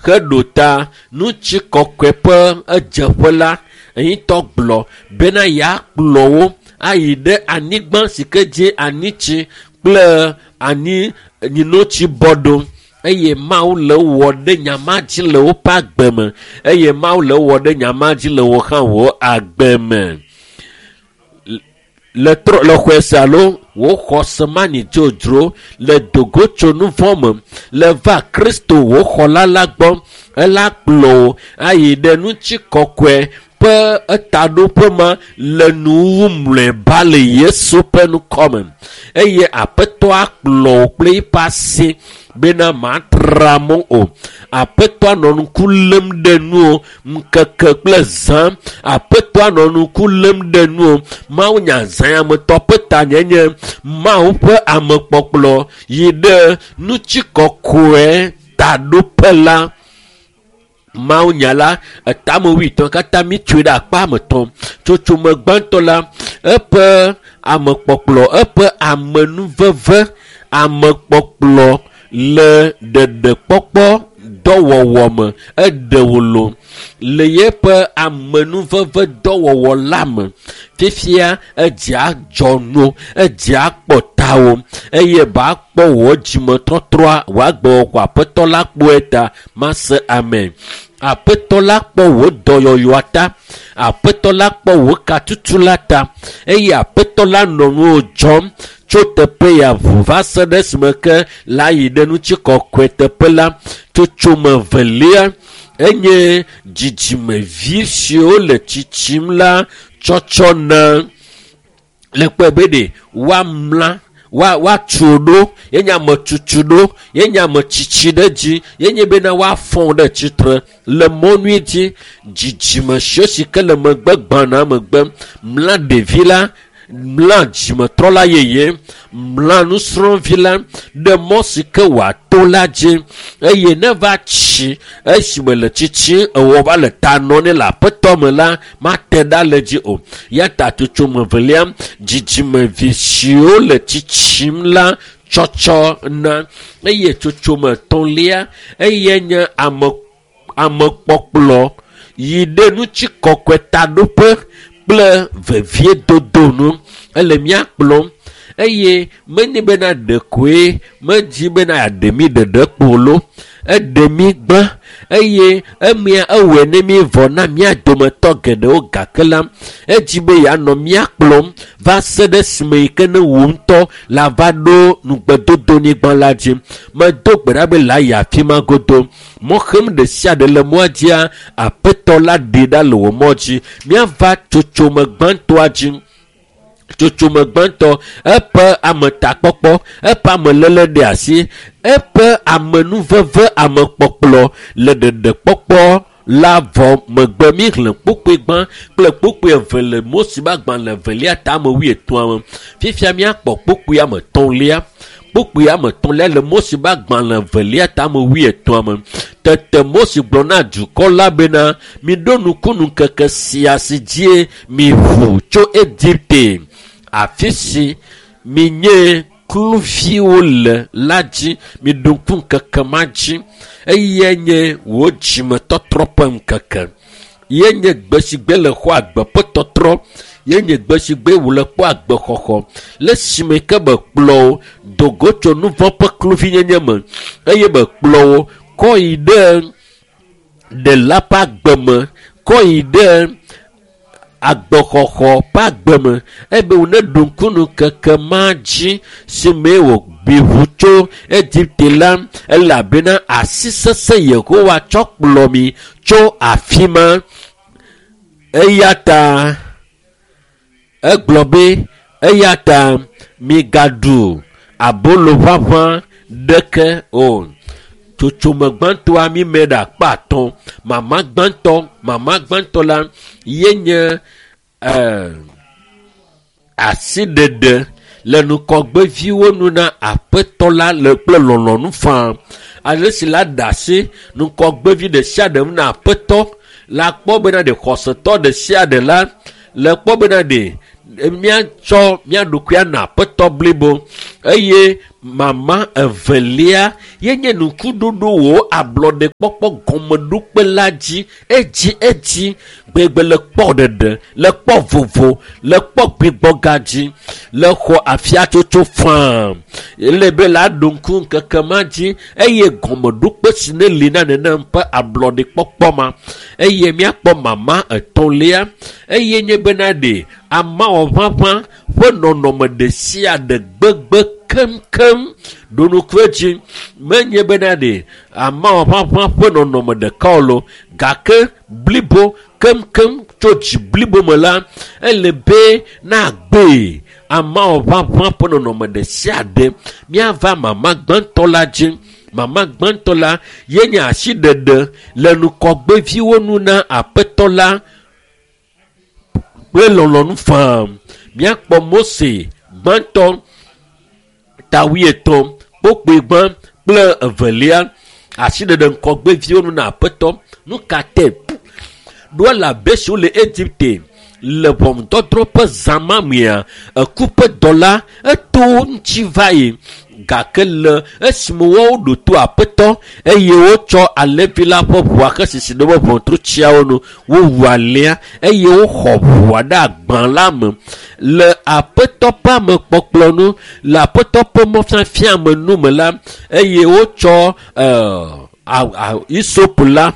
Heɖo ta ŋutikɔkɔe ƒe edzeƒe la, ŋutɔ gblɔ bena yeakplɔ wo ayi ɖe anyigba si ke dzi anyitsi kple anyi nyinotsi bɔ ɖo eye Mawu le wɔ ɖe nya ma dzi le woƒe agbe me eye Mawu le wɔ ɖe nya ma dzi le wò hã wò agbe me. Le trɔ le xɔe se alo wò xɔse ma nyi dzodzro le dogo tso nu vɔ̃ me le va Kristo wò xɔla la gbɔ ela kplɔ wò ayi ɖe ŋutikɔkɔe ƒe etaɖoƒe ma le nuwuwu mlɔeba le Yesu ƒe ŋkɔ me eye Aƒetɔ akplɔ wò kple eƒe asi bena matra mɔ o. Aƒetɔa nɔ ŋku lém ɖe nuwò ŋkeke kple zã. Aƒetɔa nɔ ŋku lém ɖe nuwò. Mawunya zãyametɔ ƒe tanyenye Mawu ƒe amekpɔkplɔ yi ɖe ŋutikɔkɔe taɖoƒe la. Mawunya la etame wuietɔ̃ katã mítsoe ɖe akpa ame etɔ̃. Tsotsome gbãtɔ la, eƒe amekpɔkplɔ, eƒe amenuveve, amekpɔkplɔ le ɖeɖekpɔkpɔ dɔwɔwɔ me. Eɖe wò lo le yeƒe amenuveve dɔwɔwɔ la me. Fifia edzea dzɔ nu, edzea kpɔ tawò eye ba kpɔ wò dzimetɔtrɔa wò agbewɔwɔ Aƒetɔ la kpɔe ta mase amen. Aƒetɔ la kpɔ wò dɔyɔyɔa ta. Aƒetɔ la kpɔ wò katutu la ta eye Aƒetɔ la nɔ nuwò dzɔm tso teƒe ya ʋu va se ɖe esime ke la yi ɖe ŋutikɔkɔe teƒe la. Tsotsome evelia enye dzidzimevi siwo le tsitsim la tsɔtsɔ na le kpɔe be ɖe woamla woatu ɖo yenye ametutu ɖo yenye ametsitsi ɖe dzi yenye bena woafɔ ɖe tsitre le mɔnui dzi dzidzime siwo si ke le megbe gbana megbe mla ɖevi la mla dzimetrɔla yeye mla nusrɔ̃vi la ɖe mɔ si ke wòato la dzi eye ne va tsi esime le tsitsi ewɔ va le ta nɔ nɛ le aƒetɔ me la mate ɖa le dzi o. Ya ta tsotsome evelia dzidzimevi siwo le tsitsim la tsɔtsɔ na eye tsotsome etɔ̃lia eye nye ame amekpɔkplɔ yi ɖe ŋutikɔkɔe taɖoƒe kple veviedodo nu ele mía kplɔm eye menye bena ɖekoe medzi bena yeaɖe mí ɖeɖe kpo lo eɖe mí gbã eye emea ewɔe ne mí vɔ na mía dometɔ geɖewo gake la edzi be yeanɔ mía kplɔm va se ɖe esime yi ke ne wò ŋutɔ la va ɖo nugbedodonyigba la dzi. Medo gbe ɖa be la yi afi ma godo. Mɔxem ɖe sia ɖe le mɔa dzia Aƒetɔ la ɖee ɖa le wò mɔ dzi. Míava tsotsome gbãtɔa dzi. Tsotsome gbãtɔ eƒe ametakpɔkpɔ, eƒe ameléle ɖe asi, eƒe amenuveve amekpɔkplɔ le ɖeɖekpɔkpɔ la vɔ megbe. Míexlẽ kpukpui gbã kple kpukpui eve le Mose ƒe agbalẽ evelia tame wuietɔ̃a me. Fifia míakpɔ kpukpui ame etɔ̃lia. Kpukpui ame etɔ̃lia le Mose ƒe agbalẽ evelia tame wuietɔ̃a me. Tete Mose gblɔ na dukɔ la bena, miɖo ŋku ŋkeke sia si dzie miʋu tso Egipte, afi si minye kluviwo le la dzi. Miɖo ŋku ŋkeke ma dzi eye nye wò dzimetɔtrɔ ƒe ŋkeke. Ye nye gbe si gbe le xɔ agbe ƒe tɔtrɔ. Ye nye gbe si gbe wòle kpɔ agbexɔxɔ. Le esime ke be kplɔ wò do go tso nu vɔ̃ ƒe kluvinyenye me eye be kplɔ wò kɔ yi ɖe ɖela ƒe agbe me, kɔ yi ɖe agbexɔxɔ ƒe agbe me ebe wòne ɖo ŋku ŋkeke ma dzi si mee wòbi ʋu tso Egipte la elabena asi sesẽ Yehowa tsɔ kplɔ mi tso afi ma. Eya ta egblɔ be eya ta migaɖu abolo ʋaʋã ɖeke o. Tsotsome gbãtɔa mi me ɖe akpa atɔ̃. Mama gbãtɔ la ye nye asiɖeɖe le ŋkɔgbeviwo nu na Aƒetɔ la le kple lɔlɔ̃nu faa. Ale si la ɖe asi ŋkɔgbevi ɖe sia ɖe ŋu na Aƒetɔ la kpɔ bena ɖe xɔsetɔ ɖe sia ɖe la le kpɔ bena ɖe míatsɔ mía ɖokuia na Aƒetɔ blibo eye Mama evelia ye nye nukuɖoɖo wò ablɔɖekpɔkpɔ gɔmeɖokpe la dzi edzi edzi gbegbe le kpɔ ɖeɖe, le kpɔ vovo, le kpɔ gbigbɔga dzi, le xɔ afiatsotso faa. Ele be la ɖo ŋku ŋkeke ma dzi eye gɔmeɖokpe si ne li na nenem ƒe ablɔɖekpɔkpɔ ma. Eye míakpɔ mama etɔ̃lia eye nye bena ɖe amawɔʋaʋã ƒe nɔnɔme ɖe sia ɖe gbegbe keŋkeŋ ɖo ŋku edzi. Menye bena ɖe amawɔʋaʋã ƒe nɔnɔme ɖeka o lo, gake blibo keŋkeŋ tso dzi blibo me la, ele be nagbee amawɔʋaʋã ƒe nɔnɔme ɖe sia ɖe. Míava mama gbãtɔ la dzi. Mama gbãtɔ la ye nye asiɖeɖe le nukɔgbeviwo nu na aƒetɔ la kple lɔlɔ̃nu faa. Míakpɔ Mose gbãtɔ ta wuietɔ̃ kpokpoe gbã kple evelia. Asiɖeɖe ŋkɔgbeviwo nu na aƒetɔ. Nu ka te? Ɖo elabe siwo le Egipte le ʋɔnudɔdrɔ̃ ƒe zã ma mea, eku ƒe dɔla eto wo ŋuti va yi. Gake le esime woawo ɖo to aƒetɔ eye wotsɔ alẽvi la ƒe ʋua xesisi ɖe woƒe ʋɔtrutsiawo nu, wowu alẽa eye woxɔ ʋua ɖe agbã la me. Le aƒetɔ ƒe amekpɔkplɔ nu, le aƒetɔ ƒe mɔfiafia me nu me la, eye wotsɔ isopu la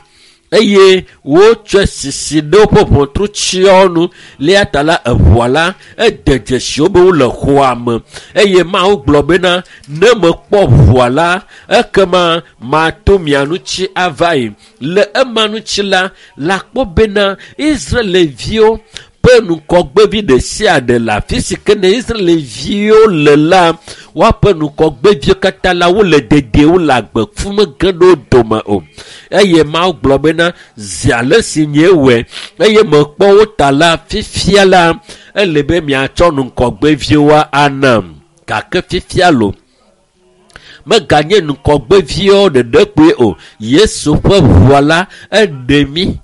eye wotsɔe sisi ɖe woƒe ʋɔtrutsiawo nu. Le ta la, eʋua la ede dzesi wo be wole xɔa me eye Mawu gblɔ bena ne mekpɔ ʋua la, ekema mato mia ŋuti ava yi. Le ema ŋuti la, lakpɔ bena Israelviwo ƒe nukɔgbevi ɖe sia ɖe le afi si ke ne Israelviwo le la, woaƒe nukɔgbeviwo katã la wole dedie, wole agbe fu mege ɖe wo dome o. Eye Mawu gblɔ bena zi ale si nye wɔe eye mekpɔ wo ta la, fifia la ele be miatsɔ nukɔgbeviwo anam. Gake fifia lo, meganye nukɔgbeviwo ɖeɖe kpoe o. Yesu ƒe ʋua la eɖe mí.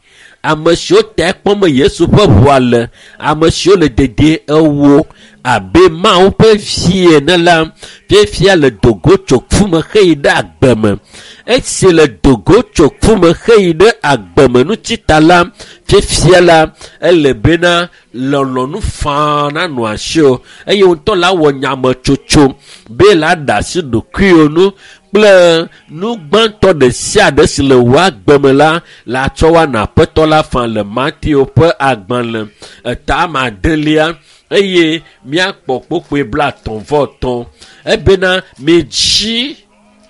Ame siwo ta kpɔm Yesu ƒe ʋua le, ame siwo le dedie ewo abe Mawu ƒe vi ene la, fifia le dogo tso ku me heyi ɖe agbe me. Esi le dogo tso ku me heyi ɖe agbe me ŋuti ta la, fifia la ele bena lɔlɔ̃nu faa nanɔ asiwò eye ŋutɔ la wɔ nyametsotso be la ɖe asi ɖokuiwò nu kple nu gbãtɔ ɖe sia ɖe si le wò agbe me la, la tsɔ woana aƒetɔ la faa le Mateo ƒe agbalẽ eta ame adelia eye míakpɔ kpokpoe 33. Ebena midzi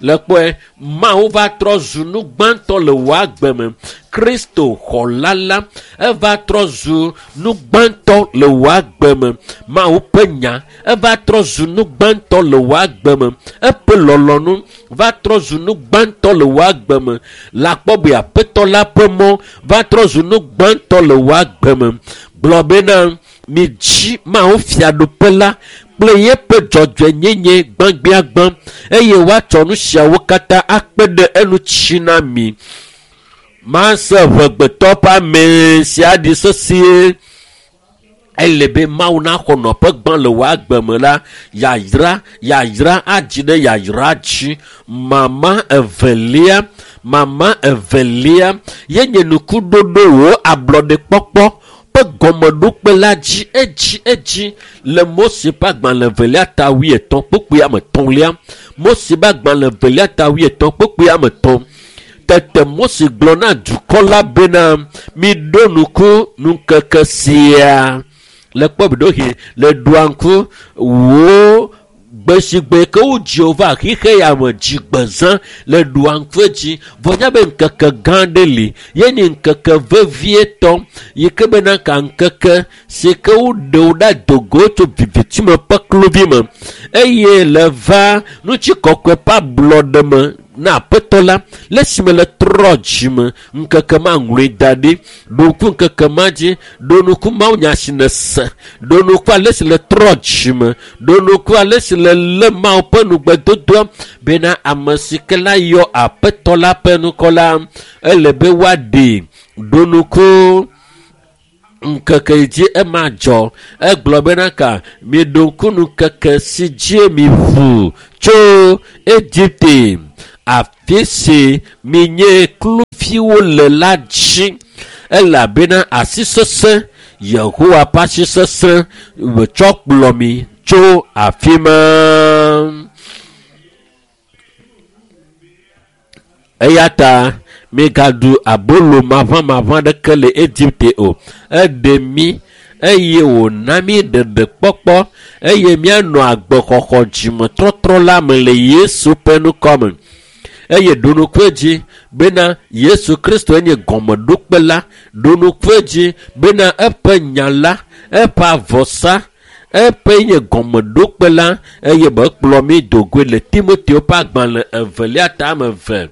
le kpɔe Mawu va trɔ zu nu gbãtɔ le wò agbe me. Kristo xɔla la eva trɔ zu nu gbãtɔ le wò agbe me. Mawu ƒe nya eva trɔ zu nu gbãtɔ le wò agbe me. Eƒe lɔlɔ̃nu va trɔ zu nu gbãtɔ le wò agbe me. Lakpɔ be aƒetɔ la ƒe mɔ va trɔ zu nu gbãtɔ le wò agbe me. Gblɔ bena midzi Mawu fiaɖuƒe la kple yeƒe dzɔdzɔenyenye gbãgbiagbã eye woatsɔ nu siawo katã akpe ɖe eŋuti na mi. Mase ʋegbetɔ ƒe ame sia ɖi sesĩe. Ele be Mawu naxɔ nɔƒe gbã le wò agbe me la, yayra, yayra adzi ɖe yayra dzi. Mama evelia, mama evelia ye nye nukuɖoɖo wò ablɔɖekpɔkpɔ ƒe gɔmeɖokpe la dzi edzi edzi le Mose ƒe agbalẽ evelia ta wuietɔ̃ kpokpoe ame etɔ̃lia. Mose ƒe agbalẽ evelia ta wuietɔ̃ kpokpoe ame etɔ̃. Tete Mose gblɔ na dukɔ la bena miɖo ŋku ŋkeke sia. Le kpɔ ɖoɖoɣi le ɖoa ŋku wò gbesigbe ke wodzi wò va xixe ya me dzigbezã le ɖoa ŋku edzi. Vɔ nya be ŋkeke gã ɖe li ye nye ŋkeke vevietɔ yi ke bena ka ŋkeke si ke woɖe wo ɖa dogo tso viviti me ƒe kluvi me eye le va ŋutikɔkɔe ƒe ablɔɖe me na aƒetɔ la le esime le trɔ dzime. Ŋkeke ma ŋlɔe da ɖi, ɖo ŋku ŋkeke ma dzi, ɖo ŋku Mawu nya si nèse, ɖo ŋku ale si le trɔ dzime, ɖo ŋku ale si le lé Mawu ƒe nugbedodoa bena ame si ke la yɔ aƒetɔ la ƒe ŋkɔ la, ele be woaɖee. Ɖo ŋku Ŋkeke yi dzi ema dzɔ. Egblɔ bena ka miɖo ŋku nu keke si dzie mi ʋu tso Egipte, afi si minye kluviwo le la dzi, elabena asi sesẽ, Yehowa ƒe asi sesẽ tsɔ kplɔ mi tso afi ma. Eya ta migaɖu abolo maʋamaʋã ɖeke le Egipte o. Eɖe mi eye wòna mi ɖeɖekpɔkpɔ eye mianɔ agbexɔxɔ dzimetɔtrɔ la me le Yesu ƒe ŋkɔ me. Eye ɖo ŋku edzi bena Yesu Kristo enye gɔmeɖokpe la. Ɖo ŋku edzi bena eƒe nya la, eƒe avɔsa, eƒe nye gɔmeɖokpe la eye be kplɔ mi dogoe le Timoteo ƒe agbalẽ evelia tame eve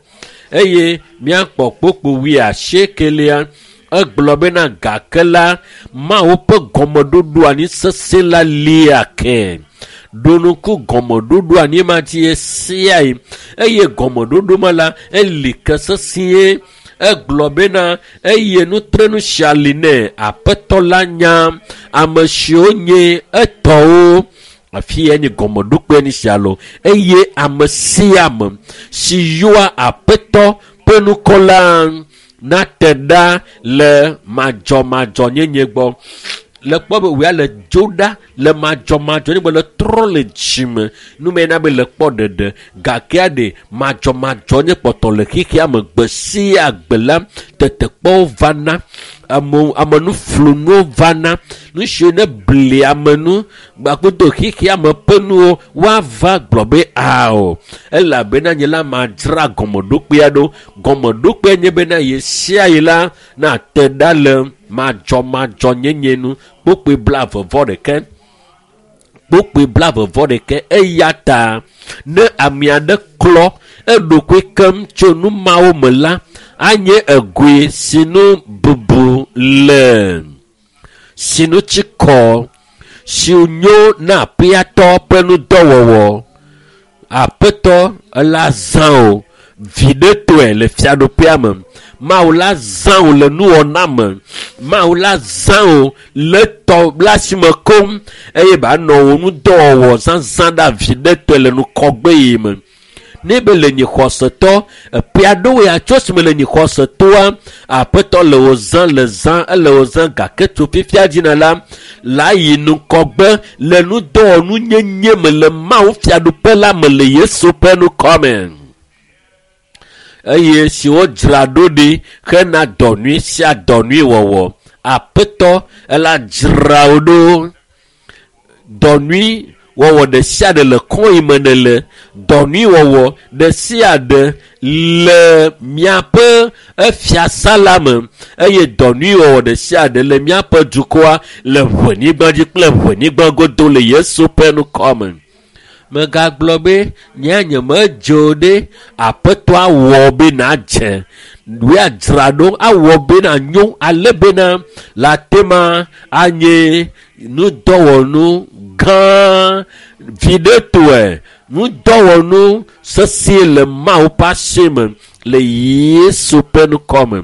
eye míakpɔ kpokpo wuiasiekelia. Egblɔ bena gake la Mawu ƒe gɔmeɖoɖo anyi sesẽ la lia ke. Ɖo ŋku gɔmeɖoɖo anyi ma dzi ɣe sia ɣi eye gɔmeɖoɖo ma la eli ke sesĩe. Egblɔ bena eye nutrenu sia li nɛ Aƒetɔ la nya ame siwo nye etɔwo. Afi ya nye gɔmeɖokpe ni sia lo eye ame sia ame si yɔa Aƒetɔ ƒe ŋkɔ la nate ɖa le madzɔmadzɔnyenye gbɔ. Le kpɔ be wòya le dzo ɖa le madzɔmadzɔnyenye gbɔ le trɔ le dzime nume na be le kpɔ ɖeɖe gakea ɖe madzɔmadzɔnye kpɔtɔ le xexea me gbe sia gbe la tetekpɔwo vana, amenuflunuwo vana, nu siwo ne bli ame nu gbakudo xexea me ƒe nuwo woava gblɔ be ao elabena nye la madzra gɔmeɖokpea ɖo. Gɔmeɖokpea nye bena ɣe sia ɣi la nate ɖa le madzɔmadzɔnyenye nu. Kpokpoe 26. Kpokpoe 26. Eya ta ne ame aɖe klɔ eɖokui keŋ tso nu mawo me la, anye egoe si nu bubu le, si nu tsi kɔ, si nyo na aƒeatɔ ƒe nudɔwɔwɔ. Aƒetɔ la zã o viɖetɔe le fiaɖuƒea me. Mawu la zã o le nuwɔna me. Mawu la zã o le tɔ la si me koŋ eye banɔ wò nudɔwɔwɔ zazã ɖa viɖetɔe le nukɔgbe yi me. Ne be le nyi xɔsetɔ, eƒe aɖewo ya tso esime le nyi xɔsetɔa, Aƒetɔ le wò zã le zã, ele wò zã gake tso fifia dzina la, la yi nukɔgbe le nudɔwɔnunyenye me le Mawu fiaɖuƒe la me le Yesu ƒe ŋkɔ me. Eye si wodzra ɖo ɖi hena dɔ nyui sia dɔ nyui wɔwɔ. Aƒetɔ ela dzra wo ɖo. Dɔ nyui wɔwɔ ɖe sia ɖe le kɔn yi me ne le. Dɔ nyui wɔwɔ ɖe sia ɖe le miaƒe efiasa la me eye dɔ nyui wɔwɔ ɖe sia ɖe le miaƒe dukɔa le ʋenyigba dzi kple ʋenyigba godo le Yesu ƒe ŋkɔ me. Megagblɔ be nye nye medzo ɖe Aƒetɔ awɔ be nadze woadzra ɖo awɔ be nanyo ale bena la tema anye nudɔwɔnu gã viɖetɔe, nudɔwɔnu sesĩe le Mawu ƒe asi me le Yesu ƒe ŋkɔ me.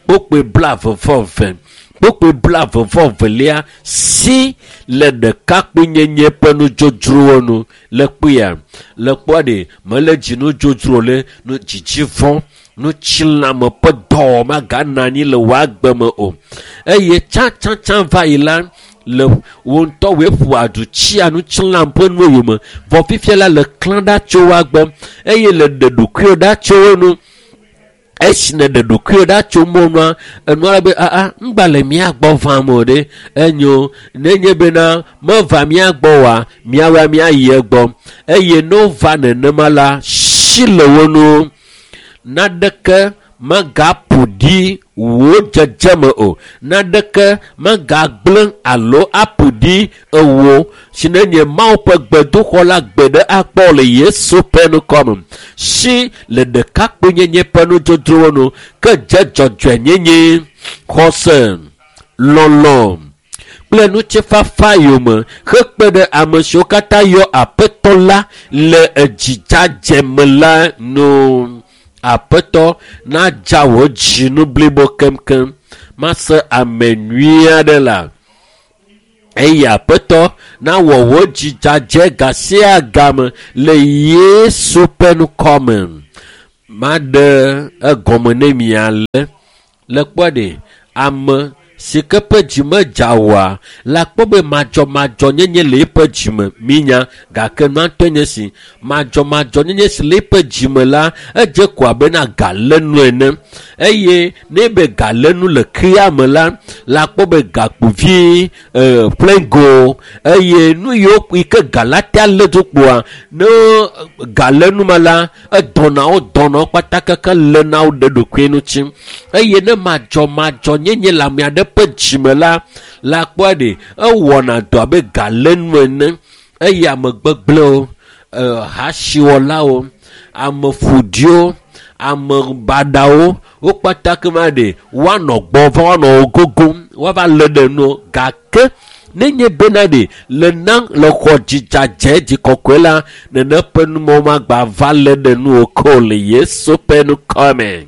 Kpokpoe 22. Kpokpoe 22 si le ɖekakpuinyenye ƒe nudzodzrowo nu le kpuia. Le kpɔa ɖe mele dzinudzodzro le nu dzidzi vɔ̃ nutsilãme ƒe dɔwɔwɔ maganɔ anyi le wò agbe me o. Eye tsãtsãtsã va yi la le wò ŋutɔ wòe ƒo aɖu tsia nutsilãme ƒe nuwo yome vɔ fifia la le klã ɖa tso wò agbe eye le ɖe ɖokuiwò ɖa tso wo nu. Esi nèɖe ɖokuiwò ɖa tso mɔnua, enua la be aa ŋgba le mía gbɔ vam o ɖe enyo nenye bena meva mía gbɔ oa míawoa míayi egbɔ eye ne wova nenema la si le wo nu. Naɖeke megaƒo ɖi wò dzedzeme o. Naɖeke megagblẽ alo aƒo ɖi ewò si nenye Mawu ƒe gbedoxɔ la gbe ɖe akpɔ le Yesu ƒe ŋkɔ me. Si le ɖekakpuinyenye ƒe nudzodzrowo nu ke dze dzɔdzɔenyenye, xɔse, lɔlɔ̃ kple ŋutifafa yome hekpe ɖe ame siwo katã yɔ Aƒetɔ la le edzidzadze me la nu. Aƒetɔ nadza wò dzinu blibo keŋkeŋ. Mase ame nyui aɖe la. Eye Aƒetɔ nawɔ wò dzi dzadzɛ ga sia game le Yesu ƒe ŋkɔme. Maɖe egɔme ne mi ale. Le kpɔ ɖe ame si ke ƒe dzi medza oa, le akpɔ be madzɔmadzɔnyenye le eƒe dzime minya gake nua ŋutɔe nye si madzɔmadzɔnyenye si le eƒe dzime la edze ko abena galenu ene eye ne be galenu le kea me la le akpɔ be gakpovi ƒlengo eye nu yiwo yi ke galatea lé do kpoa ne galenu ma la edɔnawo dɔnawo kpata keke léna wo ɖe ɖokui ŋuti eye ne madzɔmadzɔnyenye le ame aɖe ƒe dzime la le akpɔa ɖe ewɔna dɔ abe galenu ene eye ame gbegblẽwo hasiwɔlawo ame ƒoɖiwo ame baɖawo wo kpata kema ɖe woanɔ gbɔ va woanɔ wo gogom woava lé ɖe nu gake nenye bena ɖe le na le xɔ dzidzadzɛ dzi kɔkɔe la nene ƒe numɔwo magba va lé ɖe nu o ke o le Yesu ƒe ŋkɔme.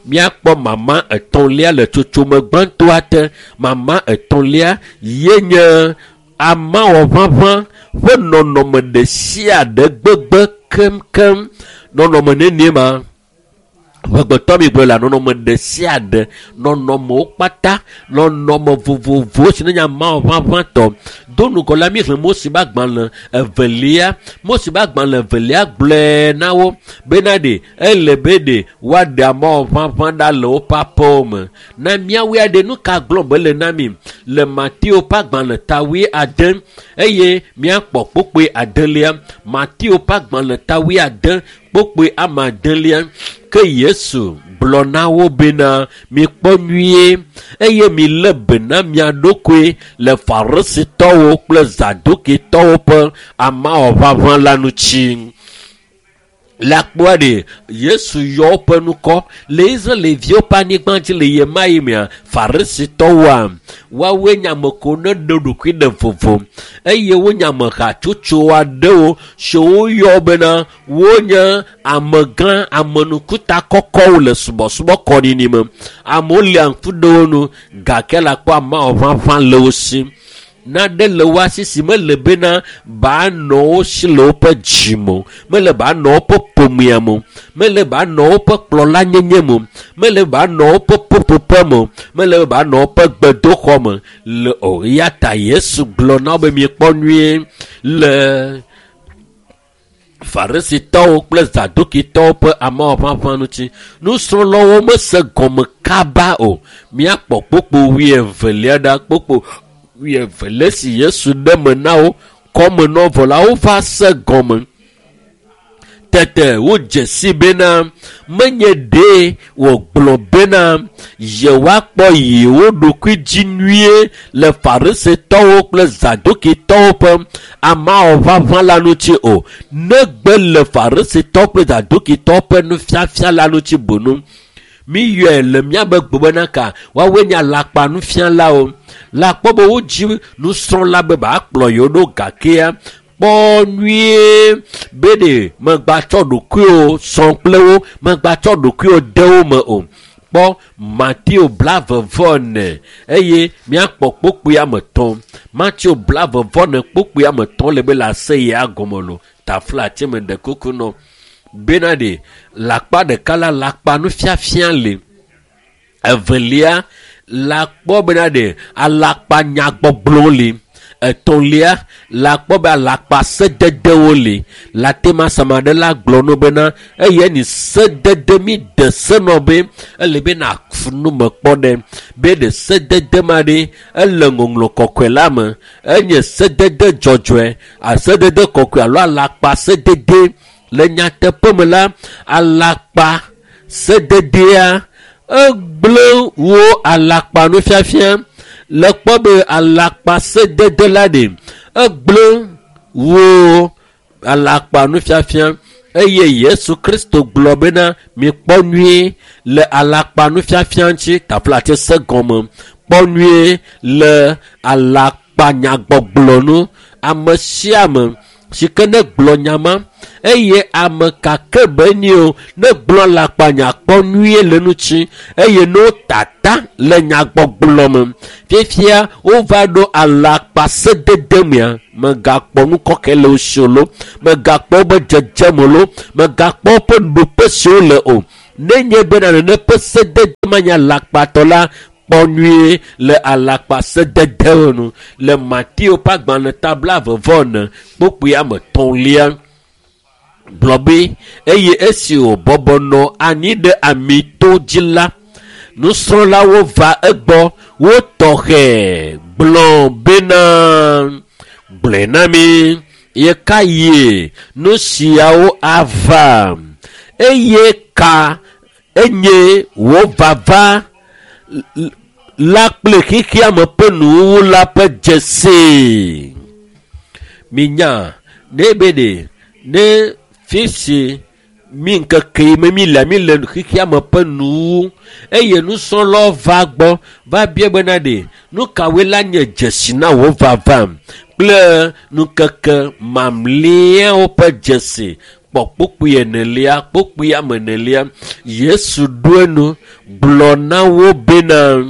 Míakpɔ mama etɔ̃lia le tsotsome gbãtɔa te. Mama etɔ̃lia ye nye amawɔʋaʋã ƒe nɔnɔme ɖe sia ɖe gbegbe keŋkeŋ. Nɔnɔme nenie ma? Ʋegbetɔ mi gblɔ la nɔnɔme ɖe sia ɖe, nɔnɔmewo kpata, nɔnɔme vovovowo si nenye amawɔʋaʋãtɔ. Do ŋgɔ la mi xlẽ Mose ƒe agbalẽ evelia. Mose ƒe agbalẽ evelia gblɔe na wo bena ɖe ele be ɖe woaɖe amawɔʋaʋã ɖa le woƒe aƒewo me. Na míawoe aɖe nu ka gblɔm be le na mi le Mateo ƒe agbalẽ ta 8 eye míakpɔ kpukpui adelia. Mateo ƒe agbalẽ ta 8 kpukpui ame adelia. Ke Yesu gblɔ na wo bena mikpɔ nyuie eye milé be na mia ɖokui le Farisitɔwo kple Zadukitɔwo ƒe amawɔʋaʋã la ŋuti. Le akpɔa ɖe Yesu yɔ woƒe ŋkɔ le Israelviwo ƒe anyigba dzi le ɣemaɣi mea Farisitɔwoa woawoe nye ame kewo ne ɖe ɖokui ɖe vovo eye wonye ame hatsotso aɖewo siwo woyɔ bena wonye amegã amenukuta kɔkɔwo le subɔsubɔ kɔɖiɖi me. Amewo lia ŋku ɖe wo nu gake le akpɔ amawɔʋaʋã le wo si. Naɖe le wo asi si mele bena banɔ wo si le woƒe dzime o, mele banɔ woƒe ƒomea me o, mele banɔ woƒe kplɔlanyenye me o, mele banɔ woƒe ƒuƒoƒe me o, mele banɔ woƒe gbedoxɔ me le o. Eya ta Yesu gblɔ na wo be miekpɔ nyuie le Farisitɔwo kple Zadukitɔwo ƒe amewɔʋaʋã ŋuti. Nusrɔ̃lawo mese gɔme kaba o. Míakpɔ kpukpui 22 ɖa, kpukpui 22 si Yesu ɖe me na wo kɔme nɔ vɔ la wova se gɔme. Tete wodze si bena menye ɖee wògblɔ bena yewoakpɔ yewo ɖokui dzi nyuie le Farisitɔwo kple Zadukitɔwo ƒe amawɔʋaʋã la ŋuti o, negbe le Farisitɔwo kple Zadukitɔwo ƒe nufiafia la ŋuti boŋ. Miyɔe le míabe gbe bena ka woawoe nye alakpa nufialawo. Le akpɔ be wodzi nusrɔ̃la be bakplɔ yewo ɖo gakea kpɔ nyuie be ɖe megbatsɔ ɖokuiwo sɔ kple wo, megbatsɔ ɖokuiwo de wo me o. Kpɔ Mateo 44 eye míakpɔ kpukpui 3. Mateo 44 kpukpui 3 le be le aseyea gɔme lo. Tafla tse me ɖe kuku nɔ bena ɖe le akpa ɖeka la le akpa nufiafia le. Evelia le akpɔ bena ɖe alakpa nyagbɔgblɔwo li. Etɔ̃lia le akpɔ be alakpa sededewo li. Le ate ma sama ɖe la gblɔ no bena eye ni sedede mi de se nɔ be ele be na fu nu me kpɔ ɖe be ɖe sedede ma ɖe ele ŋɔŋlɔ kɔkɔe la me enye sedede dzɔdzɔe asedede kɔkɔe alo alakpa sedede. Le nyateƒe me la alakpa sededea egblẽ wo alakpa nufiafia. Le kpɔ be alakpa sedede la ɖe egblẽ wo alakpa nufiafia eye Yesu Kristo gblɔ bena mikpɔ nyuie le alakpa nufiafia ŋuti tafla tse se gɔme. Kpɔ nyuie le alakpa nyagbɔgblɔ nu. Ame sia ame si ke ne gblɔ nya ma Eye ame kake be ni o ne gblɔ alakpanya kpɔ nyuie le ŋuti eye ne wotata le nyagbɔgblɔ me. Fifia wova ɖo alakpa sedede mea, megakpɔ nu kɔkɛ le wo si o lo, megakpɔ wobe dzedzeme lo, megakpɔ woƒe ɖoƒe si wole o. Nenye bena nene ƒe sedede manye alakpatɔ la, kpɔ nyuie le alakpa sededewo nu. Le Mateo ƒe agbalẽ ta 24 kpukpui ame etɔ̃lia gblɔ be eye esi wòbɔbɔ nɔ anyi ɖe amito dzi la, nusrɔ̃lawo va egbɔ wo tɔxɛ gblɔ bena gblɔe na mi ɣeka yie nu siawo ava eye ka enye wò vava la kple xexeame ƒe nuwuwu la ƒe dzesi. Minya ne be ɖe ne fisi mi ŋkeke yi me mi le mi le xexeame ƒe nuwuwu eye nusrɔ̃lawo va gbɔ va bia bena ɖe nu kawoe la nye dzesi na wò vava kple ŋkeke mamlɛawo ƒe dzesi. Kpɔ kpukpui enelia, kpukpui ame enelia. Yesu ɖo enu gblɔ na wo bena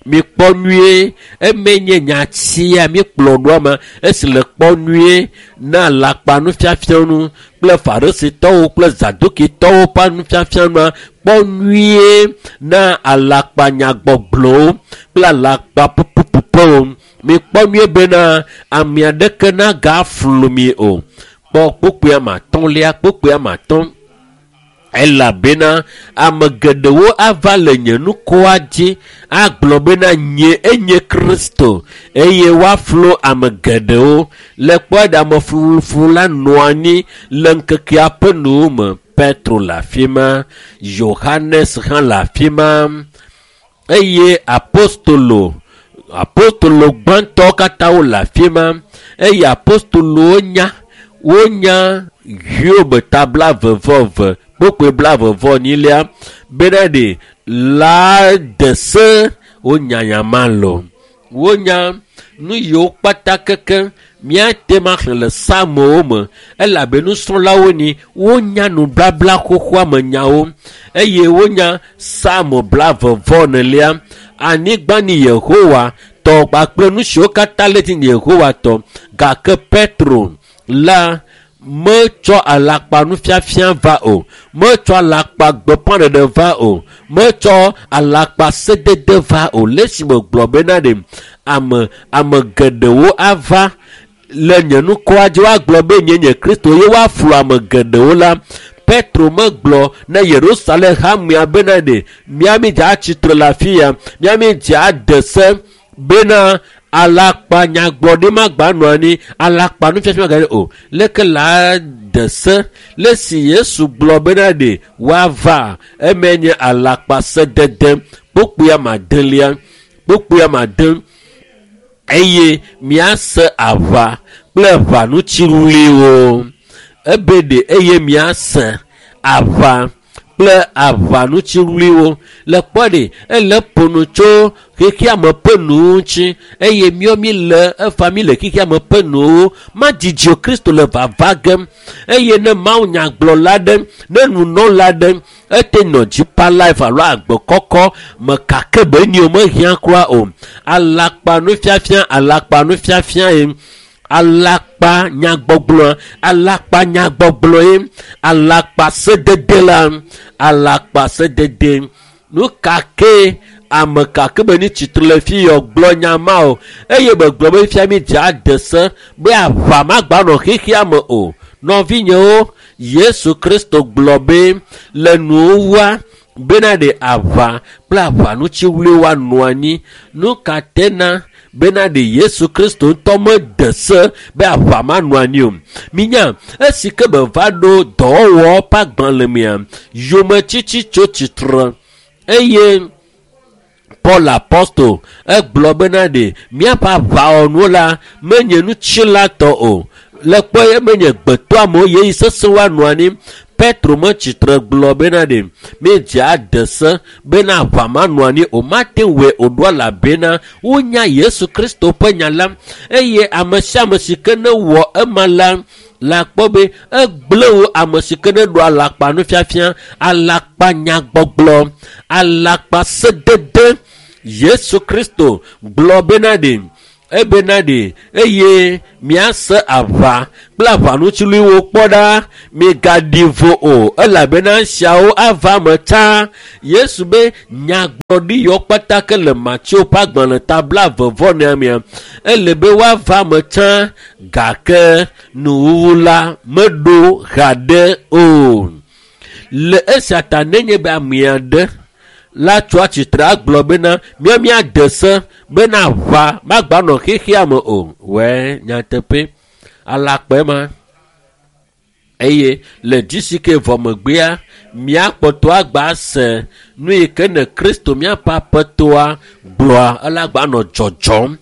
mikpɔ nyuie, eme nye nyatia mikplɔ ɖoa me esi le kpɔ nyuie na alakpa nufiafia nu kple farisitɔwo kple zadukitɔwo ƒe nufiafia nua. Kpɔ nyuie na alakpa nyagbɔgblɔwo kple alakpa pupupupuwo. Mikpɔ nyuie bena ame aɖeke nagaflu mi o. Kpɔ kpukpui ame atɔ̃lia, kpukpui ame atɔ̃. Elabena ame geɖewo ava le nye nukoa dzi agblɔ bena nye enye Kristo eye woaflu ame geɖewo. Le kpɔe ɖe amefluflu la nɔ anyi le ŋkekea ƒe nuwo me. Petro le afi ma, Yohanes hã le afi ma eye apostolo gbãtɔwo katã wole afi ma eye apostolowo nya wonya Hiob ta 22 kpukpui 22 bena ɖe la de se wonya nya ma lo. Wonya nu yiwo kpata keke míate ŋu axlẽ le psalmowo me elabe nusrɔ̃lawo ni wonya nubabla xoxoa me nyawo eye wonya psalmo 24 anyigba ni Yehowa tɔ kpakple nu siwo katã le dzi ni Yehowa tɔ. Gake Petro la metsɔ alakpa nufiafia va o, metsɔ alakpa gbeƒãɖeɖe va o, metsɔ alakpa sedede va o. Le esime gblɔ bena ɖe ame geɖewo ava le nye nukɔa dzi woagblɔ be nye nye Kristo ye woaflu ame geɖewo la, Petro megblɔ na Yerusalem hamea bena ɖe miami dze atsitre le afi ya, miami dze ade se bena alakpa nyagblɔɖi magba nɔ anyi, alakpa nufiafia magba o. Leke la de se le si Yesu gblɔ bena ɖe woava eme nye alakpa sedede kpukpui ame adelia, kpukpui ame ade eye miase aʋa kple ʋanutsiɣliwo. Ebe ɖe eye miase aʋa kple aʋanutsiɣliwo. Le kpɔ ɖe ele ƒo nu tso xexeame ƒe nuwo ŋuti eye míawo mi le efa mi le xexeame ƒe nuwo. Madzidzi o Kristo le vava gem eye ne Mawu nyagblɔla ɖe, ne nunɔla ɖe ete nɔ Deeper Life alo agbe kɔkɔ me kake be ni o mehiã kura o. Alakpa nufiafia, alakpa nufiafia ye. Alakpa nyagbɔgblɔ, alakpa nyagbɔgblɔ ye, alakpa sedede la, alakpa sedede. Nu ka ke ame kake be ni tsitre le fi yɔ gblɔ nya ma o eye be gblɔ be fia mi dze ade se be aʋa magba nɔ xexea me o. Nɔvinyewo, Yesu Kristo gblɔ be le nuwuwua bena ɖe aʋa kple aʋanutsiɣliwo woanɔ anyi. Nu ka tena bena ɖe Yesu Kristo ŋutɔ mede se be aʋa manɔ anyi o. Minya esi ke be va ɖo dɔwɔwɔ ƒe agbalẽ mea, yometsitsi tso tsitre eye Paul apostol egblɔ bena ɖe míaƒe aʋawɔnuwo la menye nutsilatɔ o. Le kpɔ menye gbetɔamewo yeyi sesẽ woanɔ anyi. Petro metsitre gblɔ bena ɖe míedze ade se bena aʋa manɔ anyi o, mate ŋu wɔe o ɖo elabena wonya Yesu Kristo ƒe nya la eye ame sia ame si ke ne wɔ ema la, La kpɔ be egblẽ wo ame si ke ne ɖo alakpa nufiafia, alakpa nyagbɔgblɔ, alakpa sedede. Yesu Kristo gblɔ bena ɖe ebena ɖe eye miase aʋa kple aʋanutsiluiwo kpɔ ɖa, migaɖi vo o, elabena esiawo ava me tsã. Yesu be nyagblɔɖi yiwo kpata ke le Mateo ƒe agbalẽ ta 20 mea, ele be woava me tsã, gake nuwuwu la meɖo haɖe o. Le esia ta nenye be ame aɖe la tso atsitre agblɔ bena mía míade se bena aʋa magba nɔ xexea me o. Wɛ nyateƒe alakpae ma. Eye le dzisi ke vɔ megbea, míakpɔtɔ agba se nu yi ke ne Kristo míaƒe aƒetɔa gblɔa, ele agba nɔ dzɔdzɔm.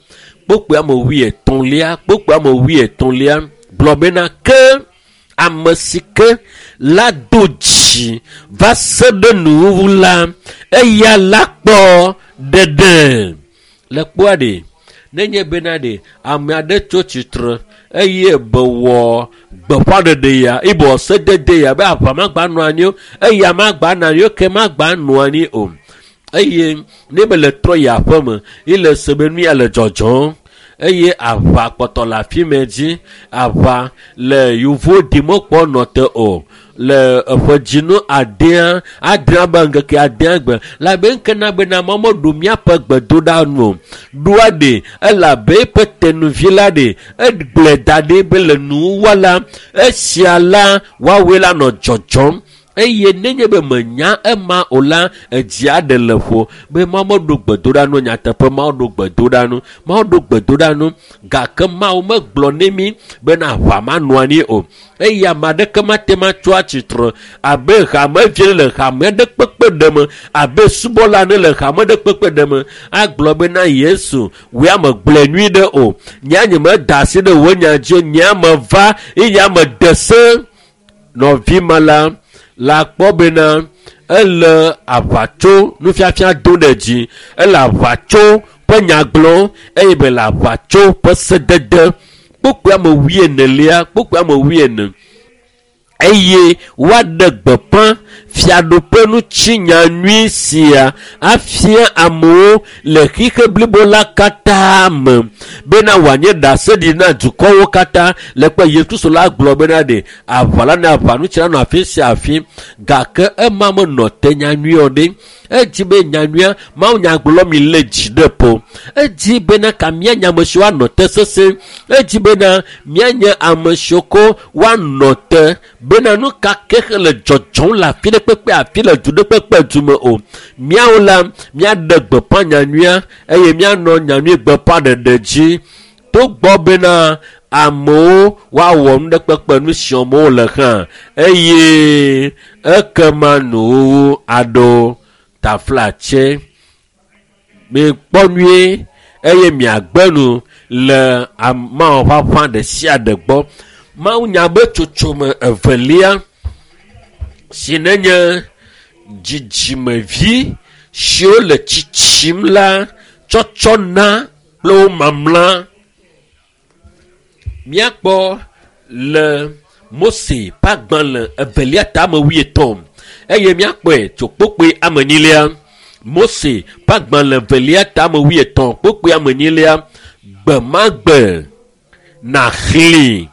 Kpokpoe ame 80, kpokpoe ame 80 gblɔ bena ke ame si ke la do dzi va se ɖe nuwuwu la, eya la kpɔ ɖeɖe. Le kpɔa ɖe, nenye bena ɖe ame aɖe tso tsitre eye be wɔ gbeƒãɖeɖe ya, ibɔ sedede ya be aʋa magba nɔ anyi o, eya magba nɔ anyi o, ke magba nɔ anyi o. Eye ne be le trɔ yi aƒe me, ye le se be nu ya le dzɔdzɔm. Eye aʋa kpɔtɔ le afi mɛ dzi, aʋa le yevuwo ɖim kpɔ nɔ te o. Le eƒe dzinu adea, adrea be ŋkeke adea gbe, la be ŋke na bena Mawu meɖo míaƒe gbedoɖa nu o. Ɖoa ɖe, elabe eƒe tenuvi la ɖe, egblɔe da ɖi be le nuwuwua la, esia la, woawoe la nɔ dzɔdzɔm. Eye nenye be menya ema o la, edzi aɖe le ƒo be Mawu meɖo gbedoɖa nu nyateƒe, Mawu ɖo gbedoɖa nu, Mawu ɖo gbedoɖa nu, gake Mawu megblɔ ne mí bena aʋa manɔ anyi o. Eye ame aɖeke mate ŋu atso atsitre abe hamevi le hame aɖe kpekpe ɖe me, abe subɔla ene le hame aɖe kpekpe ɖe me, agblɔ bena Yesu, wòe ame gblɔe nyui ɖe o. Nye nye meda asi ɖe wò nya dzi o, nye ame va eye ame de se. Nɔvi ma la, la kpɔ bena ele aʋatso nufiafia do ɖe dzi, ele aʋatso ƒe nya gblɔm eye be le aʋatso ƒe sedede. Kpokpoe ame 40, kpokpoe ame 40. Eye woaɖe gbeƒã fiaɖuƒe ŋuti nya nyui sia afia amewo le xixe blibo la katã me bena wòanye ɖaseɖiɖi na dukɔwo katã. Le kpe Yesu Kristo la gblɔ bena ɖe aʋa la ne aʋa ŋuti la nɔ afi sia afi, gake ema menɔ te nyanyui o ɖe. Edzi be nyanyuia Mawu nyagblɔ mi le dzi ɖe ƒo. Edzi bena ka míanye ame siwo anɔ te sesẽ. Edzi bena míanye ame siwo ko woanɔ te bena nu ka ke le dzɔdzɔm le afi ɖe kpekpe afi le du ɖe kpekpe du me o. Míawo la míaɖe gbeƒã nyanyuia eye míanɔ nyanyui gbeƒãɖeɖe dzi. Togbɔ bena amewo woawɔ nu ɖe kpekpe nu si wɔm wole hã eye ekema nuwuwu aɖo. Taflatse, mikpɔ nyuie eye miagbe nu le Mawu ƒe aƒã ɖe sia ɖe gbɔ. Mawu nya be tsotsome evelia si nenye dzidzimevi siwo le tsitsim la tsɔtsɔ na kple wo mamla. Míakpɔ le Mose ƒe agbalẽ evelia ta ame 80 eye míakpɔe tso kpokpoe ame 2. Mose ƒe agbalẽ evelia ta ame 80 kpokpoe ame 2. Gbe ma gbe nàxlẽ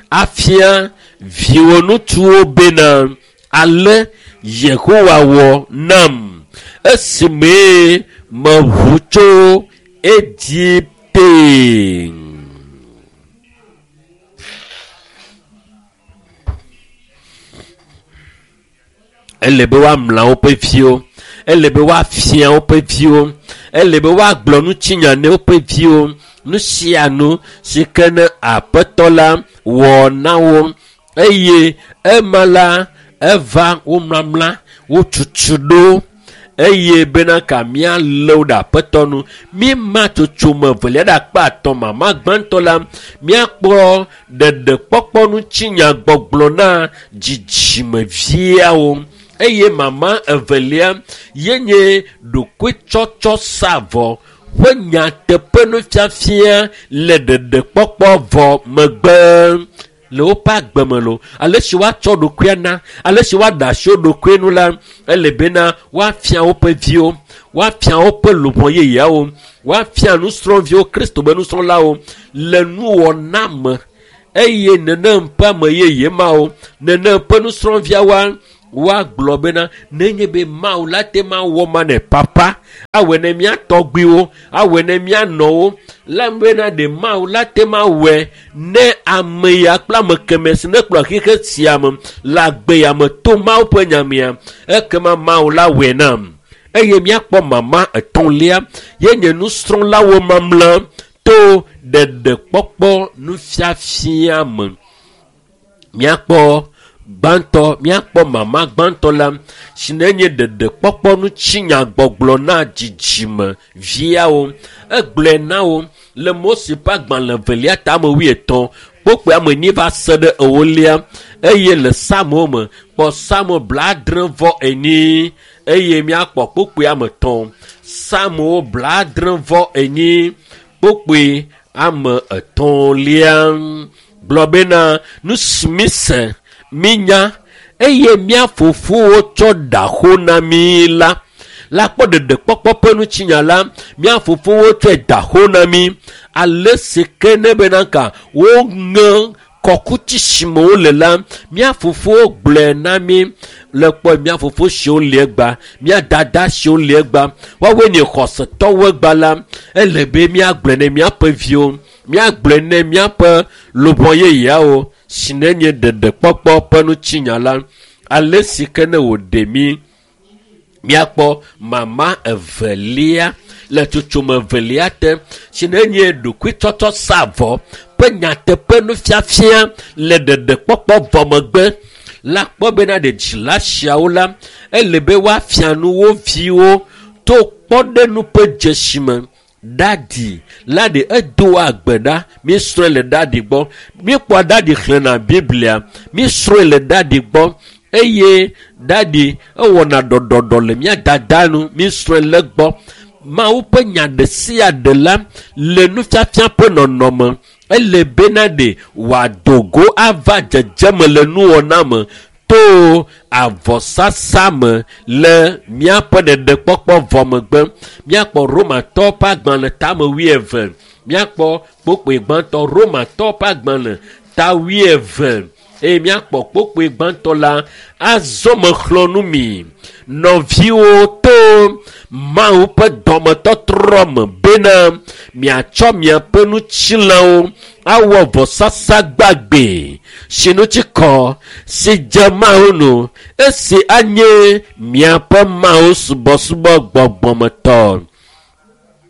afia viwò ŋutsuwo bena ale Yehowa wɔ nam esime meʋu tso Egipte. Ele be woamla woƒe viwo, ele be woafia woƒe viwo, ele be woagblɔ ŋutinya ne woƒe viwo, nu sia nu si ke ne Aƒetɔ la wɔ na wo. Eye ema la eva wo mlamla, wo tutu ɖo eye bena ka míalé wo ɖe Aƒetɔ nu. Míema tsotsome evelia ɖe akpa atɔ̃ mama gbãtɔ la, míakpɔ ɖeɖekpɔkpɔ ŋutinya gbɔgblɔ na dzidzimeviawo. Eye mama evelia ye nye ɖokuitsɔtsɔ sa vɔ ƒe nyateƒe nufiafia le ɖeɖekpɔkpɔ vɔ megbe. Le woƒe agbe me lo, ale si woatsɔ ɖokuia na, ale si woaɖe asi wo ɖokui nu la, ele bena woafia woƒe viwo, woafia woƒe luʋɔ yeyeawo, woafia nusrɔ̃viwo, Kristo be nusrɔ̃lawo le nuwɔna me. Eye nenem ƒe ame yeye mawo, nenem ƒe nusrɔ̃viawoa, woagblɔ bena nenye be Mawu la te ma wɔ ma ne papa, awɔe ne mía tɔgbuiwo, awɔe ne mía nɔwo, la bena ɖe Mawu la te ma wɔe ne ame ya kple ame keme si ne kplɔ xixe sia me le agbe ya me to Mawu ƒe nyamea, ekema Mawu la wɔe nam. Eye míakpɔ mama etɔ̃lia ye nye nusrɔ̃lawo mamlã to ɖeɖekpɔkpɔ nufiafia me. Míakpɔ gbãtɔ, míakpɔ mama gbãtɔ la si ne nye ɖeɖekpɔkpɔ ŋutinyagbɔgblɔ na dzidzime viawo. Egblɔe na wo le Mose ƒe agbalẽ evelia tame wuietɔ̃ kpokpoe ame enyi va se ɖe ewolia, eye le Psalmo me kpɔ Psalmo 74 eye míakpɔ kpokpoe ame etɔ̃. Psalmo 74 kpokpoe ame etɔ̃lia gblɔ bena nu si mise mínya eye mía fofowo tsɔ ɖa xo na mí la. La kpɔ ɖeɖekpɔkpɔ ƒe ŋutinya la, mía fofowo tsɔe da xo na mí. Ale si ke ne bena ka woŋe kɔkuti si me wole la, mía fofowo gblɔe na mí. Le kpɔ mía fofo siwo li egba, mía dada siwo li egba, woawoe nye xɔsetɔwo egba la, ele be míagblɔe ne míaƒe viwo, míagblɔe ne míaƒe luʋɔ yeyeawo si ne nye ɖeɖekpɔkpɔ ƒe ŋutinya la. Ale si ke ne wòɖe mí, míakpɔ mama evelia le tsotsome evelia te si ne nye ɖokuitsɔtsɔ sa avɔ ƒe nyateƒe nufiafia le ɖeɖekpɔkpɔ vɔ megbe. La kpɔ bena ɖe dzila siawo la, ele be woafia nu wo viwo to kpɔɖeŋu ƒe dzesi me. Dadi la ɖe edoa agbe ɖa, míesrɔ̃e le dadi gbɔ, míekpɔa dadi xlẽna Biblia, míesrɔ̃e le dadi gbɔ, eye dadi ewɔna ɖɔɖɔɖɔ le mía dada nu, míesrɔ̃e le gbɔ. Mawu ƒe nya ɖe sia ɖe la le nufiafia ƒe nɔnɔme, ele bena ɖe wòado go ava dzedzeme le nuwɔna me to avɔsasa me le míaƒe ɖeɖekpɔkpɔ vɔ megbe. Míakpɔ Romatɔwo ƒe agbalẽ tame wuieve, míakpɔ kpokpoe gbãtɔ Romatɔwo ƒe agbalẽ ta wuieve eye míakpɔ kpokpoe gbãtɔ la. Azɔ mexlɔ̃ nu mi nɔviwo to Mawu ƒe dɔmetɔtrɔ me bena miatsɔ miaƒe ŋutilãwo awɔ vɔsasa gbagbe si ŋuti kɔ si dze Mawu nu, esi anye miaƒe Mawu subɔsubɔ gbɔgbɔmetɔ.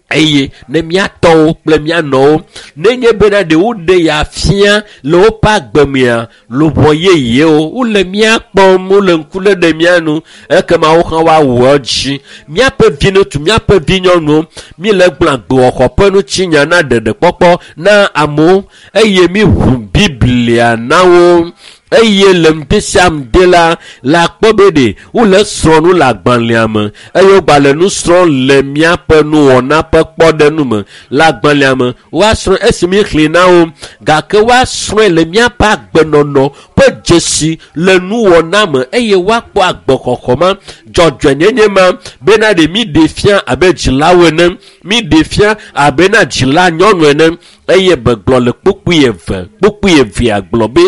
Eye ne míatɔwo kple míanɔwo nenye bena ɖe woɖe ya fia le woƒe agbe mea, luʋɔ yeyewo wole mía kpɔm, wole ŋku lé ɖe mía nu, ekema wo hã woawɔ edzi. Míaƒe viŋutsu, míaƒe vinyɔnuwo, míele gblɔ agbewɔxɔ ƒe ŋutinya na ɖeɖekpɔkpɔ na amewo, eye míʋu Biblia na wo. Eye le ŋdi sia ŋdi la, le akpɔ be ɖe wole srɔ̃ nu le agbalẽa me, eye wogba le nu srɔ̃m le míaƒe nuwɔna ƒe kpɔɖeŋu me le agbalẽa me. Woasrɔ̃ esi míexlẽ na wo, gake woasrɔ̃e le míaƒe agbenɔnɔ ƒe dzesi le nuwɔna me, eye woakpɔ agbexɔxɔ ma, dzɔdzɔenyenye ma, bena ɖe míɖe fia abe dzilawo ene, míɖe fia abe na dzila nyɔnu ene. Eye begblɔ le kpukpui eve, kpukpui evea gblɔ be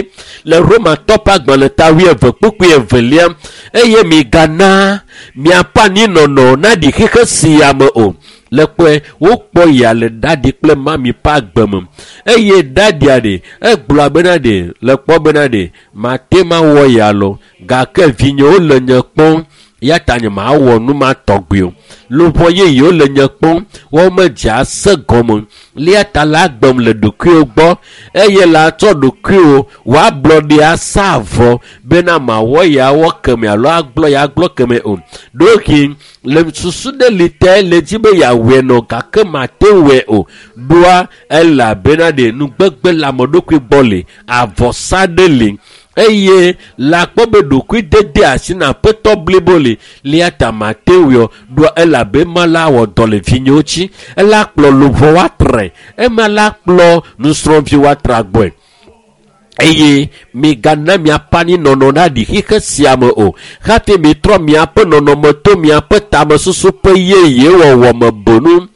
le Romatɔ ƒe agbalẽ ta wuieve kpukpui evelia, eye migana miaƒe anyinɔnɔ naɖi xixe sia me o. Le kpɔe wokpɔ ya le dadi kple mami ƒe agbe me, eye dadia ɖe egblɔ bena ɖe le kpɔ bena ɖe mate ma wɔ ya lo, gake vinyewo le nye kpɔm, ya ta nye mawɔ nu ma tɔgbi o. Luʋɔ yeyewo le nye kpɔm, womedze ase gɔme. Lia ta la agbem le ɖokuiwo gbɔ, eye la tsɔ ɖokuiwo wòablɔ ɖe asa avɔ bena mawɔ ya wɔ keme alo agblɔ ya gblɔ keme o. Ɖohi le susu ɖe li te le dzi be yeawɔe nɔ, gake mate wɔe o. Ɖoa elabena ɖe nugbegbe le ame ɖokui gbɔ li, avɔsa ɖe li, eye le akpɔ be ɖokui dede asi na aƒetɔ blibo li, lia ta mate wɔe o. Ɖoa elabe ema la wɔ dɔ le vinyewo dzi, ela kplɔ luʋɔ woatre, ema la kplɔ nusrɔ̃vi woatra gbɔe. Eye migana miaƒe anyinɔnɔ naɖi xixe sia me o. Hafi mitrɔ miaƒe nɔnɔme to miaƒe tamesusu ƒe yeye wɔwɔ me bonu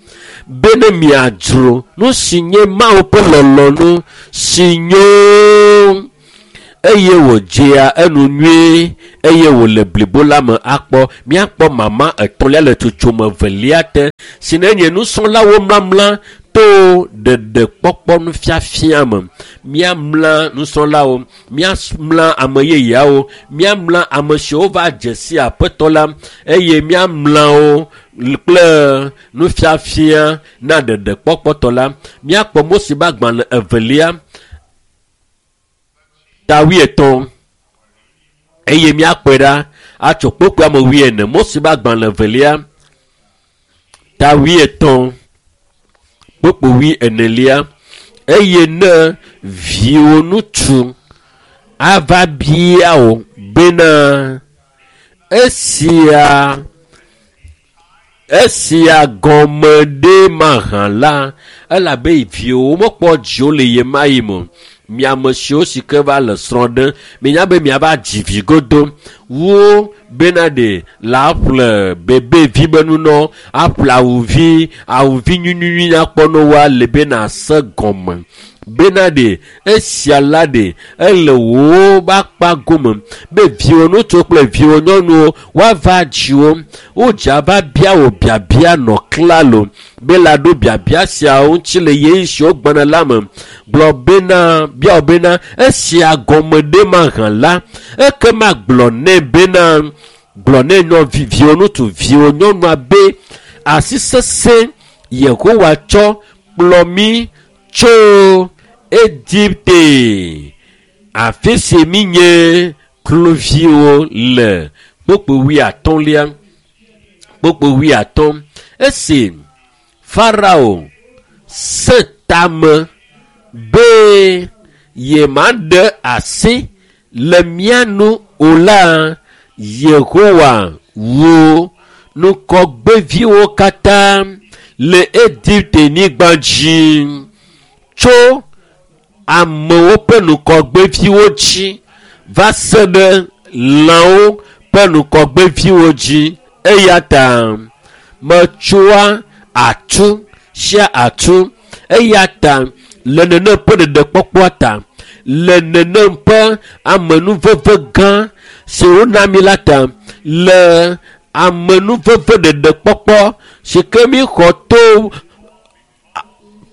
bene miadzro nu si nye Mawu ƒe lɔlɔ̃nu si nyo eye wòdzea enu nyuie eye wòle blibo la me akpɔ. Míakpɔ mama etɔ̃lia le tsotsome evelia te si ne nye nusrɔ̃lawo mlamla to ɖeɖekpɔkpɔ nufiafia me. Míamla nusrɔ̃lawo, míamla ame yeyeawo, míamla ame siwo va dze si aƒetɔ la eye míamla wo kple nufiafia na ɖeɖekpɔkpɔtɔ la. Míakpɔ Mose ƒe agbalẽ evelia ta wuietɔ̃ eye míakpɔe ɖa atso kpokpoa me wuiene. Mose ƒe agbalẽ evelia ta wuietɔ̃ kpokpo wuienelia eye ne viwò ŋutsu ava bia wò bena esia esia gɔme ɖe mahã la, elabe viwòwo mekpɔ dziwo le ɣe ma ɣi me o. Mi ame siwo si ke va le srɔ̃ ɖem, minya be miava dzi vi godo wo bena ɖe la ƒle bebevi be nunɔ, aƒle awuvi, awuvi nyuinyuinyui nyakpɔ ne woa le bena se gɔme. Bena ɖe esia la ɖe ele wò be akpa gome be viwò ŋutsuwo kple viwò nyɔnuwo woava dziwò. Wodze ava bia wò biabia nɔ klalo be la ɖo biabia siawo ŋuti le ɣeyiɣi siwo gbɔna la me. Gblɔ bena bia wò bena esia gɔme ɖe mahã la, ekema gblɔ nɛ bena gblɔ nɛ nyɔ viwò ŋutsu viwò nyɔnua be asi sesẽ Yehowa tsɔ kplɔ mí tso Egipte afi si míenye kluviwo le kpokpo wuiatɔ̃lia kpokpo wuiatɔ̃ esi Farao sẽ tame be yemaɖe asi le mía nu o la, Yehowa wu ŋgɔgbeviwo katã le Egipte-nyigba dzi tso amewo ƒe ŋgɔgbeviwo dzi va se ɖe lãwo ƒe ŋgɔgbeviwo dzi. Eya ta metsoa atu sia atu. Eya ta le nenem ƒe ɖeɖekpɔkpɔa ta, le nenem ƒe amenuveve gã si wona mí la ta, le amenuveve ɖeɖekpɔkpɔ si ke míxɔ to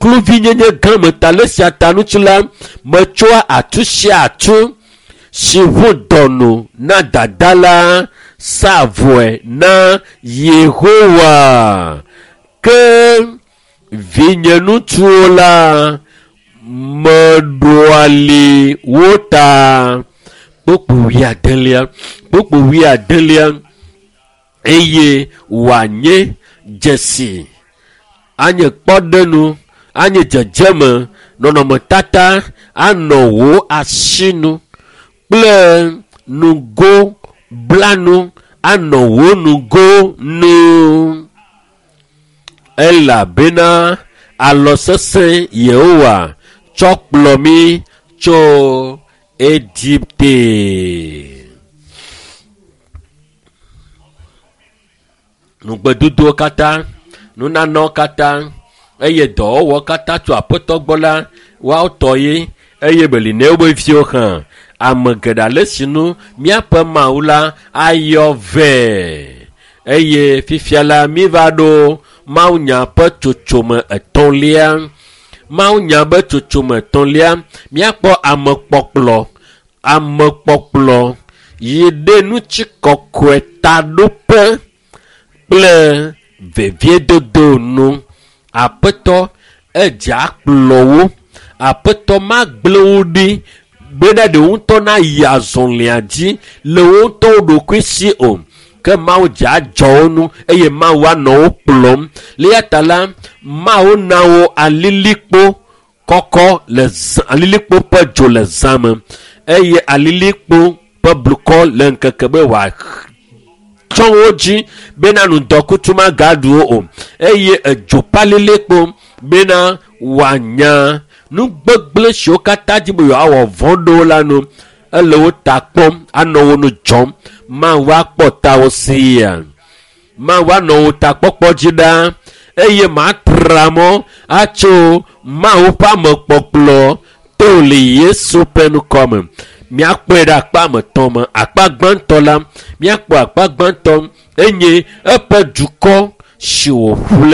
kluvinyenye gã me ta le esia ta ŋuti la, metsoa atu sia atu si ʋu dɔnu na dada la sa vɔe na Yehowa. Ke vinye ŋutsuwo la, meɖoa li wo ta. Kpokpo wuiadelia, kpokpo wuiadelia eye wòanye dzesi, anye kpɔɖenu, anye dzedzeme, nɔnɔmetata anɔ wò asinu kple nugo blanu anɔ wò nugo nu. Elabena alɔ sesẽ Yehowa tsɔ kplɔ mí tso Egipte. Nugbedodowo katã, nunanawo katã eye dɔwɔwɔ katã tso aƒetɔ gbɔ la, woawo tɔ ye eye beli ne wobe viwo hã. Ame geɖe ale si nu míaƒe Mawu la ayɔ vɛ. Eye fifia la míva ɖo mawunya ƒe tsotsome etɔ̃lia. Mawunya ƒe tsotsome etɔ̃lia, míakpɔ amekpɔkplɔ, amekpɔkplɔ yi ɖe ŋutikɔkɔe taɖoƒe kple veviedodo nu. Aƒetɔ edze akplɔ wo. Aƒetɔ magblẽ wo ɖi bena ɖe wo ŋutɔ nayi azɔlia dzi le wo ŋutɔ wo ɖokui si o. Ke Mawu dze adzɔ wo nu eye Mawu anɔ wo kplɔm. Le eya ta la, Mawu na wo alilikpo kɔkɔ le zã, alilikpo ƒe dzo le zã me eye alilikpo ƒe blukɔ le ŋkeke be wòatsɔ wo dzi bena ŋdɔkutsu magaɖu wo o eye edzo ƒe alilikpo bena wòanya Nu gbegblẽ siwo katã dzi be yewoawɔ vɔ̃ ɖo la nu, ele wo ta kpɔm, anɔ wo nu dzɔm. Mawu akpɔ tawo sia. Mawu anɔ wo takpɔkpɔ dzi ɖaa eye matra mɔ atso Mawu ƒe amekpɔkplɔ to le Yesu ƒe ŋkɔ me. Míakpɔe ɖe akpa me tɔ̃ me. Akpa gbãtɔ la, míakpɔ akpa gbãtɔ enye eƒe dukɔ si wòƒle.